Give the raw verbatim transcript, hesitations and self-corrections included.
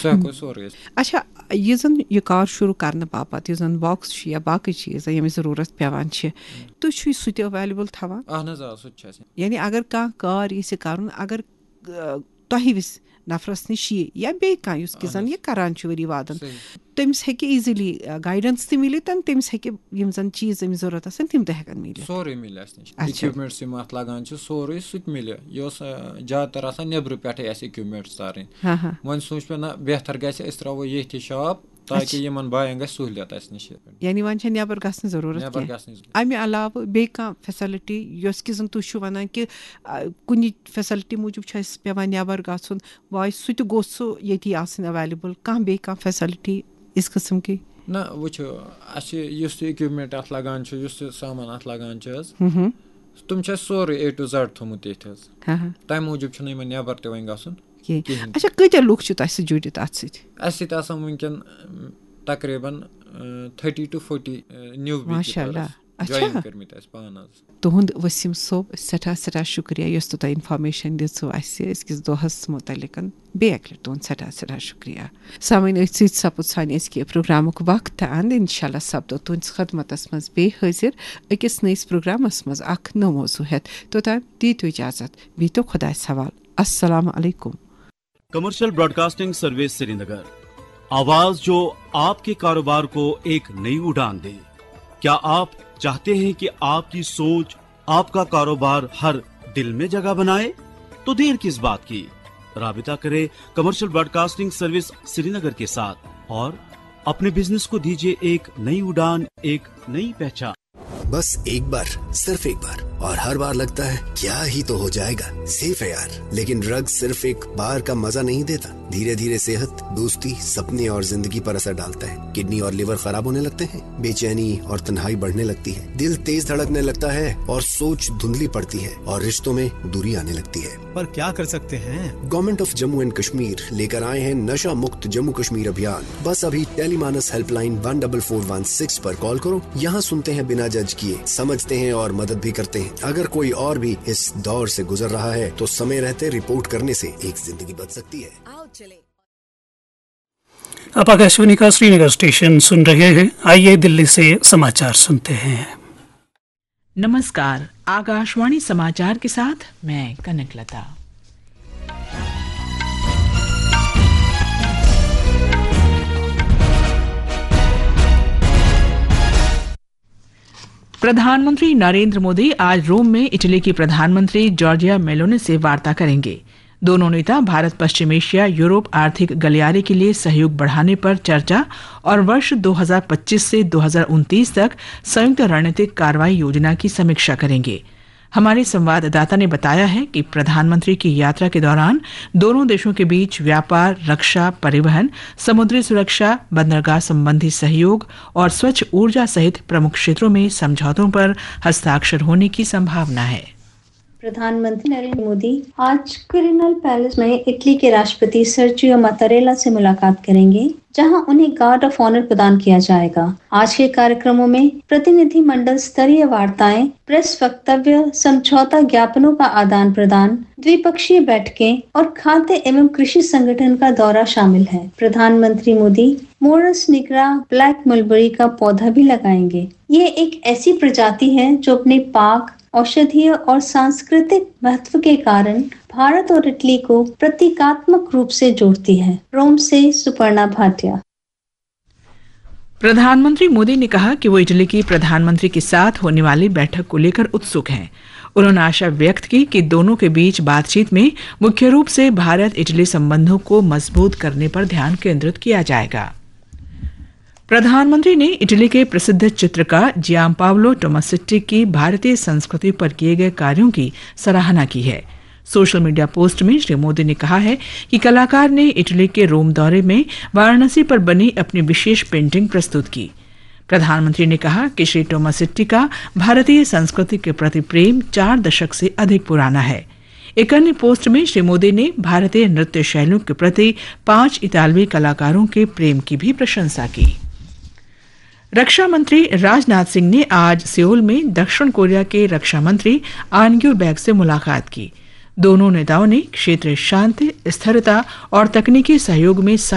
سُہ ہٮ۪کو أسۍ سورُے أسۍ۔ اچھا، یہِ زن یہِ کار شروع کرنہٕ باپتھ یُس زن باکس چھُ یا باقٕے چیٖز ییٚمِچ ضروٗرت پٮ۪وان چھِ، تُہۍ چھُو سُہ تہِ ایویلیبل تھاوان؟ اہن حظ، آ، سُہ تہِ چھُ اَسہِ۔ یعنی اگر کانٛہہ کار یژھِ کرُن، اگر آ، تۄہہِ وِس نفرس نِش یہِ یا بیٚیہِ کانٛہہ یُس کہِ اہن زن حظ۔ یہِ کران چھُ ؤری وادن، صحیح۔ تٔمِس ہیٚکہِ ایٖزیلی گایڈنس تہِ مِلِتھ تہٕ تٔمِس ہیٚکہِ یِم زن چیٖز أمِس ضروٗرت آسن تِم تہِ ہٮ۪کن مِلِتھ۔ سورُے مِلہِ اَسہِ نِش۔ اچھا۔ اِکوپمنٹس یِم اَتھ لگان چھِ، سورُے سُہ تہِ مِلہِ۔ یہِ اوس، آ، زیادٕ تر آسان نیٚبرٕ پٮ۪ٹھٕے اَسہِ اِکوپمنٹس تارٕنۍ۔ ہاں، ہاں۔ وۄنۍ سوٗنٛچ مےٚ، نہ، بہتر گژھِ أسۍ ترٛاوو ییٚتھی شاپ، تاکہِ اچھا۔ یِمن بایَن گژھِ سہوٗلیت اَسہِ نِش۔ یعنی وۄنۍ چھےٚ نٮ۪بر گژھنٕچ ضروٗرت نٮ۪بر کینٛہہ۔ گژھنٕچ ضروٗرت۔ اَمہِ علاوٕ بیٚیہِ کانٛہہ فیسلٹی یۄس کہِ زن تُہۍ چھِو ونان کہِ، آ، کُنہِ فیسلٹی موٗجوٗب چھُ اَسہِ پٮ۪وان نٮ۪بر گژھُن، واے سُہ تہِ گوٚژھ سُہ ییٚتی آسٕنۍ ایویلیبل، کانٛہہ بیٚیہِ کانٛہہ فیسلٹی اِس قٕسم کی؟ نہ، وٕچھِو، اَسہِ یُس تہِ اِکوپمنٹ اَتھ لگان چھُ، یُس تہِ سامان اَتھ لگان چھُ حظ، ہُم ہُم۔ تِم چھِ اَسہِ سورُے اے ٹُو زڈ تھوٚمُت ییٚتہِ حظ۔ ہاں ہاں۔ تَمہِ موٗجوٗب چھُنہٕ یِمن نٮ۪بر تہِ وۄنۍ گژھُن کینٛہہ۔ کِہیٖنۍ تہِ۔ اچھا، کۭتیٛاہ لُکھ چھِ تۄہہِ سۭتۍ جُڑِتھ اَتھ سۭتۍ؟ اَسہِ سۭتۍ آسان وٕنکٮ۪ن، اَم، تقریباً، اَ، تھٔٹی ٹُو فوٹی، اَ، نیوٗ بی ماشاء اللہ۔ کیٖپٲرٕز اچھا۔ جویِن کٔرمٕتۍ اَسہِ پانہٕ حظ۔ تُہُنٛد ؤسیٖم صٲب، سٮ۪ٹھاہ سٮ۪ٹھاہ شُکریہ یۄس تۄہہِ اِنفارمیشن دِژوٕ اَسہِ أزکِس دۄہَس مُتعلِقَن۔ بیٚیہِ اَکہِ لَٹہِ تُہُنٛد سٮ۪ٹھاہ سٮ۪ٹھاہ شُکریہ۔ سامعیٖن، أتھۍ سۭتۍ سَپُد سانہِ أزکہِ پروگرامُک وقت تہٕ اَنٛد۔ اِنشاء اللہ سَپدو تُہٕنٛدِ خدمتَس منٛز بیٚیہِ حٲضِر أکِس نٔیِس پروگرامَس منٛز اَکھ نوٚو موضوع ہٮ۪تھ۔ توٚتام دیٖتو اِجازت، بِہتو خۄدایَس حوالہٕ۔ السلام علیکم۔ کمرشل براڈکاسٹنگ سروس سرینگر، آواز جو آپ کے کاروبار کو ایک نئی اڑان دے۔ کیا آپ چاہتے ہیں کہ آپ کی سوچ، آپ کا کاروبار ہر دل میں جگہ بنائے؟ تو دیر کس بات کی؟ رابطہ کریں کمرشل براڈکاسٹنگ سروس سرینگر کے ساتھ اور اپنے بزنس کو دیجیے ایک نئی اڑان، ایک نئی پہچان۔ बस एक बार, सिर्फ एक बार, और हर बार लगता है क्या ही तो हो जाएगा, सेफ है यार। लेकिन ड्रग सिर्फ एक बार का मजा नहीं देता, धीरे धीरे सेहत, दोस्ती, सपने और जिंदगी पर असर डालता है। किडनी और लिवर खराब होने लगते हैं, बेचैनी और तन्हाई बढ़ने लगती है, दिल तेज धड़कने लगता है और सोच धुंधली पड़ती है और रिश्तों में दूरी आने लगती है। पर क्या कर सकते हैं? Government of Jammu and Kashmir लेकर आए हैं नशा मुक्त जम्मू कश्मीर अभियान। बस अभी Telemanas helpline one double four one six पर कॉल करो। यहाँ सुनते हैं बिना जज किए, समझते हैं और मदद भी करते हैं। अगर कोई और भी इस दौर से गुजर रहा है तो समय रहते रिपोर्ट करने से एक जिंदगी बच सकती है। आओ चले। आप आकाशवाणी का श्रीनगर स्टेशन सुन रहे हैं। आइए दिल्ली से समाचार सुनते हैं। नमस्कार, आकाशवाणी समाचार के साथ मैं कनक लता। प्रधानमंत्री नरेंद्र मोदी आज रोम में इटली की प्रधानमंत्री जॉर्जिया मेलोनी से वार्ता करेंगे। दोनों नेता भारत पश्चिम एशिया यूरोप आर्थिक गलियारे के लिए सहयोग बढ़ाने पर चर्चा और वर्ष दो हज़ार पच्चीस से दो हज़ार उनतीस तक संयुक्त रणनीतिक कार्रवाई योजना की समीक्षा करेंगे। हमारे संवाददाता ने बताया है कि प्रधानमंत्री की यात्रा के दौरान दोनों देशों के बीच व्यापार, रक्षा, परिवहन, समुद्री सुरक्षा, बंदरगाह संबंधी सहयोग और स्वच्छ ऊर्जा सहित प्रमुख क्षेत्रों में समझौतों पर हस्ताक्षर होने की संभावना है। प्रधानमंत्री नरेंद्र मोदी आज क्विरिनल पैलेस में इटली के राष्ट्रपति सर्जियो मतारेला से मुलाकात करेंगे, जहां उन्हें गार्ड ऑफ ऑनर प्रदान किया जाएगा। आज के कार्यक्रमों में प्रतिनिधिमंडल स्तरीय वार्ताएं, प्रेस वक्तव्य, समझौता ज्ञापनों का आदान प्रदान, द्विपक्षीय बैठकें और खाद्य एवं कृषि संगठन का दौरा शामिल है। प्रधानमंत्री Modi Morris nigra black mulberry का पौधा भी लगाएंगे। ये एक ऐसी प्रजाति है जो अपने पाक, औषधीय और सांस्कृतिक महत्व के कारण भारत और इटली को प्रतीकात्मक रूप से जोड़ती है। रोम से सुपर्णा भाटिया। प्रधानमंत्री मोदी ने कहा कि वो इटली की प्रधानमंत्री के साथ होने वाली बैठक को लेकर उत्सुक हैं। उन्होंने आशा व्यक्त की कि दोनों के बीच बातचीत में मुख्य रूप से भारत इटली संबंधों को मजबूत करने पर ध्यान केंद्रित किया जाएगा। प्रधानमंत्री ने इटली के प्रसिद्ध चित्रकार जियांपावलो टोमासेट्टी की भारतीय संस्कृति पर किए गए कार्यों की सराहना की है। सोशल मीडिया पोस्ट में श्री मोदी ने कहा है कि कलाकार ने इटली के रोम दौरे में वाराणसी पर बनी अपनी विशेष पेंटिंग प्रस्तुत की। प्रधानमंत्री ने कहा कि श्री टोमासेट्टी का भारतीय संस्कृति के प्रति प्रेम चार दशक से अधिक पुराना है। एक अन्य पोस्ट में श्री मोदी ने भारतीय नृत्य शैलियों के प्रति पांच इतालवी कलाकारों के प्रेम की भी प्रशंसा की। रक्षा मंत्री राजनाथ सिंह ने आज सियोल में दक्षिण कोरिया के रक्षा मंत्री आन ग्यू बैग से मुलाकात की। दोनों नेताओं ने क्षेत्रीय शांति, स्थिरता और तकनीकी सहयोग में साझा